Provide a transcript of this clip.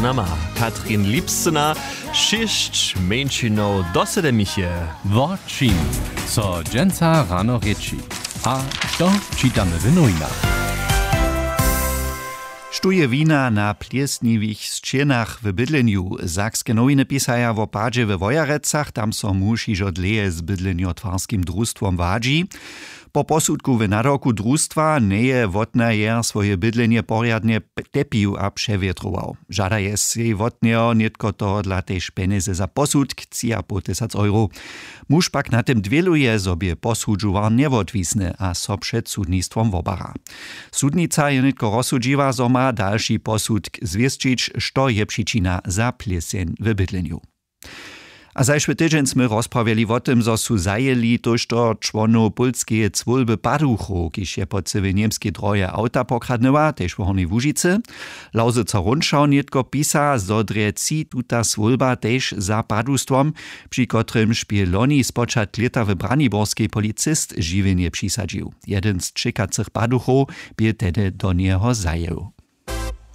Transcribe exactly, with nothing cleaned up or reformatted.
Nama katrin lipscyna, šěsć mjeńšinow do sedemiche. Wo čim so dźensa rano rěči a što čitamy w nowinach? Štó je wina na plěsniwych sćěnach w bydlenju? Sakske nowiny pisaja wo padźe we wojerecach, tam so muž hižo dlěje z bydlenjotwarskim drustwom wadźi. Po posudku w nadawku drustwa njeje wotnajer swoje bydlenje porjadnje tepił a přewětrował. Žadaje sej wot njeho nětko tohodla tež pjenjezy za posudk tři a poł tysac euro. Muž pak na tym dwěluje, zo bě posudźowar njewotwisny a so před sudnistwom wobara. Sudnica je nětko rozsudźiła, zo ma dalši posudk zwěsćić, što je přičina za plěseń w bydlenju. A zašły tydźeń smy rozprawjeli wo tym, zo su zajěli tójšto čłonow pólskeje cwólby paduchow, kiž je po cyłej němskej droje awta pokradnyła tež w hornjej łužicy. Lauzyca runšał nětko pisa, zo drje tři tuta swólba tež za padustwom, při kotrymž bě loni spočatk lěta w braniborskej policist žiwjenje přisadźił. Jedyn z ćěkacych paduchow bě tehdy do njeho zajěł.